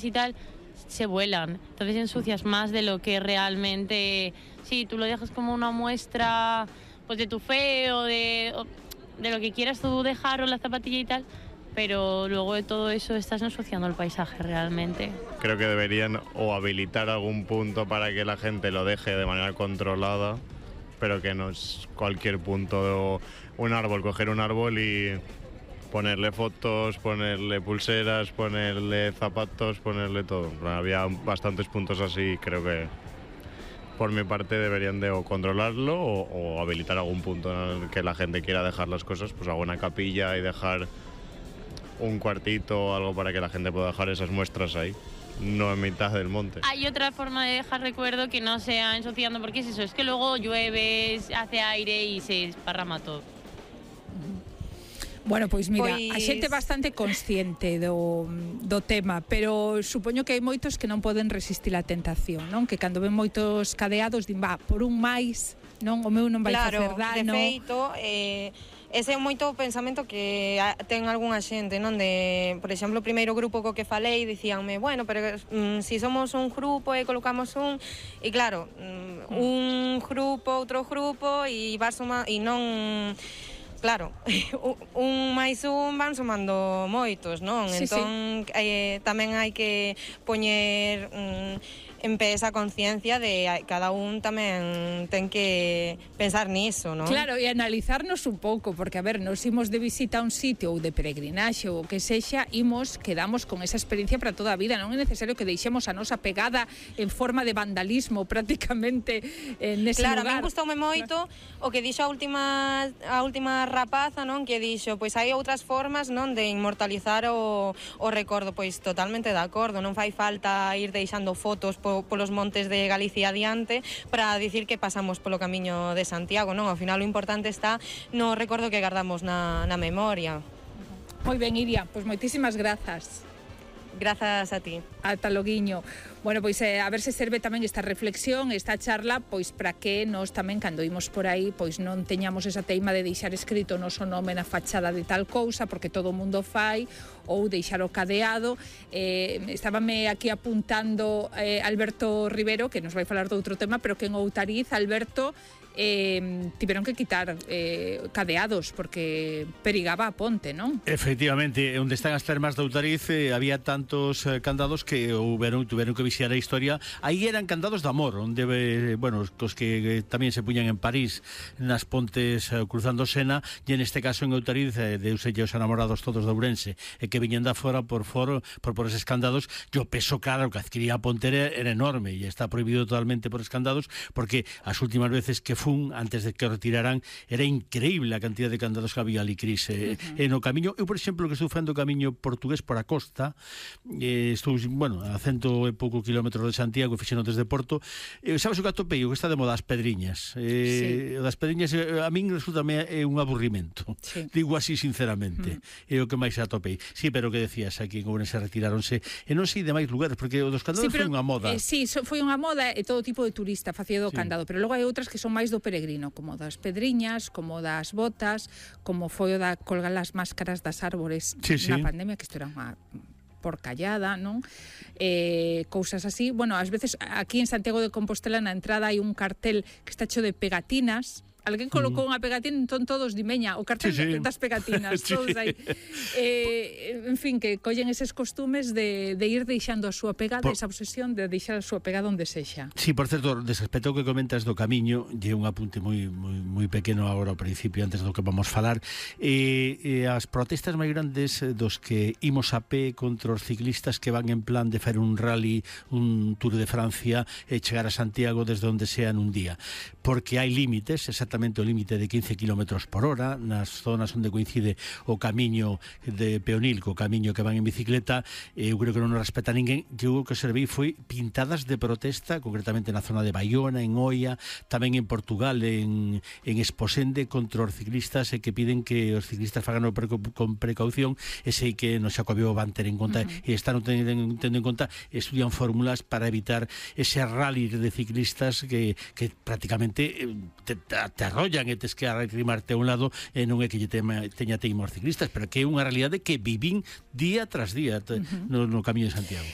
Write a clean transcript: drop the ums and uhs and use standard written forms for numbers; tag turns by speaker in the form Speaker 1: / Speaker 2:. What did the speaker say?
Speaker 1: y tal, se vuelan. Entonces ensucias más de lo que realmente... Sí, tú lo dejas como una muestra pues de tu fe o de lo que quieras tú dejar o la zapatilla y tal, pero luego de todo eso estás ensuciando el paisaje realmente.
Speaker 2: Creo que deberían o habilitar algún punto para que la gente lo deje de manera controlada, pero que no es cualquier punto, un árbol, coger un árbol y ponerle fotos, ponerle pulseras, ponerle zapatos, ponerle todo. Había bastantes puntos así, creo que por mi parte deberían de o controlarlo o habilitar algún punto en el que la gente quiera dejar las cosas, pues alguna capilla y dejar un cuartito o algo para que la gente pueda dejar esas muestras ahí, no en mitad del monte.
Speaker 1: Hay otra forma de dejar recuerdo que no sea ensuciando, porque es eso, es que luego llueve, hace aire y se esparrama todo.
Speaker 3: Bueno, pois mira, a xente bastante consciente do tema, pero supoño que hai moitos que non poden resistir a tentación, non? Que cando ven moitos cadeados din, por un máis, non? O meu non vai facer dano.
Speaker 4: Claro, de feito, ese é moito o pensamento que ten algunha xente, non? De, por exemplo, o primeiro grupo co que falei dicíanme, bueno, pero si somos un grupo e colocamos un, e claro, un grupo, outro grupo e vas sumando, e non... Claro, un máis un van sumando moitos, non?
Speaker 3: Sí,
Speaker 4: entón, tamén hai que poñer en pé esa conciencia de cada un tamén ten que pensar niso, non?
Speaker 3: Claro, e analizarnos un pouco, porque, a ver, nos imos de visita a un sitio ou de peregrinaxe ou o que sexa, quedamos con esa experiencia para toda a vida, non é necesario que deixemos a nosa pegada en forma de vandalismo prácticamente nese lugar.
Speaker 4: Claro, a mí gustoume moito o que dixo a última rapaza, non? Que dixo, pois hai outras formas, non? De inmortalizar o recordo, pois totalmente de acordo, non fai falta ir deixando fotos polos montes de Galicia adiante para dicir que pasamos polo camiño de Santiago, non? Ao final o importante está no recordo que guardamos na memoria.
Speaker 3: Moi ben, Iria, pois moitísimas grazas.
Speaker 4: Grazas a ti.
Speaker 3: Ata loguiño. Bueno, pois a ver se serve tamén esta reflexión, esta charla, pois para que nós tamén, cando imos por aí, pois non teñamos esa teima de deixar escrito o noso nome na fachada de tal cousa, porque todo o mundo fai, ou deixar o cadeado. Estábame aquí apuntando Alberto Rivero, que nos vai falar de outro tema, pero que en Outariz, Alberto, tiveron que quitar cadeados porque perigaba a ponte, non?
Speaker 5: Efectivamente, onde están as termas de Outariz había tantos candados que tuveron que vixiar a historia. Aí eran candados de amor, onde, bueno, os que tamén se puñan en París nas pontes cruzando Sena, e en este caso en Outariz deuse os enamorados todos de Ourense e que viñen da fora por eses candados, e o peso claro que adquiría a ponte era enorme e está prohibido totalmente por escandados, porque as últimas veces que fun, antes de que o retiraran, era increíble a cantidad de candados que había ali, Cris, no camiño. Eu, por exemplo, que estou facendo o camiño portugués por a costa, estou, bueno, a 100 e pouco kilómetros de Santiago, fixeno desde Porto, sabes o que atopei? O que está de moda, as pedriñas. O das pedriñas a min resulta un aburrimento, digo así sinceramente, é o que máis atopei. Sí, pero o que decías, aquí en Ourense retiráronse, e non sei de máis lugares, porque o dos candados foi unha moda.
Speaker 3: Sí, foi unha moda e todo tipo de turista facía do candado, pero logo hai outras que son máis do peregrino, como das pedriñas, como das botas, como foi o da colgar as máscaras das árbores na pandemia, que isto era unha porcallada, non? Cousas así. Bueno, ás veces aquí en Santiago de Compostela na entrada hai un cartel que está hecho de pegatinas. Alguén colocou unha pegatina, entón todos dimeña, o cartel das pegatinas, todos aí. En fin, que collen eses costumes de ir deixando a súa pegada, esa obsesión de deixar a súa pegada onde sexa.
Speaker 5: Sí, por certo, desrespecto que comentas do camiño, lle un apunte moi pequeno agora ao principio, antes do que vamos falar. As protestas máis grandes dos que imos a pé contra os ciclistas que van en plan de fer un rally, un Tour de Francia e chegar a Santiago desde onde sea nun día, porque hai límites, exactamente o límite de 15 km por hora nas zonas onde coincide o camiño de peonil co camiño que van en bicicleta. Eu creo que non nos respeta ninguén. Eu que serví foi pintadas de protesta, concretamente na zona de Baiona, en Oia, tamén en Portugal, en Esposende, contra os ciclistas, e que piden que os ciclistas fagan con precaución, e sei que no Xacobeo van ter en conta e están tendo en conta, estudian fórmulas para evitar ese rally de ciclistas que prácticamente te arrollan e tes que arrimarte a un lado, e non é que teña teima os ciclistas, pero que é unha realidade que vivín día tras día no camiño de Santiago.